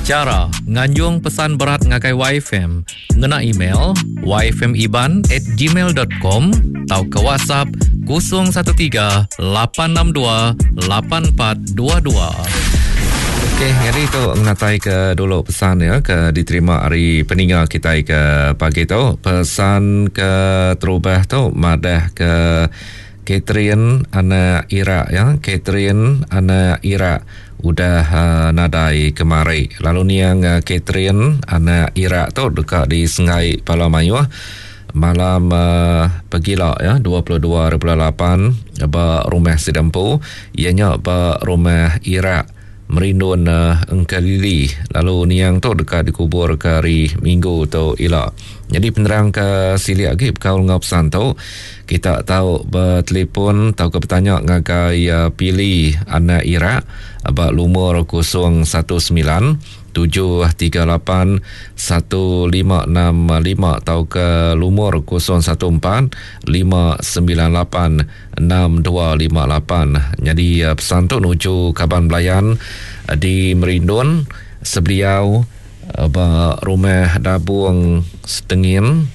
Chara nganjung pesan berat ngagai YFM ngena email yfmiban at gmail dot com tauka WhatsApp 013 862 8422. Okey, nyadi tu ngenatai ke dulu pesan ya ke diterima ari peninga kitai ke pagi tu. Pesan ke terubah tu madah ke Catherine anak Irak ya, Catherine anak Irak udah uh, nadai kemari. Lalu niang uh, Catherine anak Irak tu deka disenggai pala mayuh malam uh, pegila ya 22 bulan 8 ba rumah sida empu iya nya ba rumah Irak Merindun Engkelili lalu niang tu deka dikubur ke hari Minggu tu ila. Nyadi penerang ke silik agi bekaul enggau pesan tu, kita tau betelefon tauka betanya ngagai Pili anak Irak ba lumur 019 738 1565 tauka lumur 014 598 6258. Nyadi pesan tu nuju kaban belayan di Merindun sebeliau ba Rumah Dabung Setengin.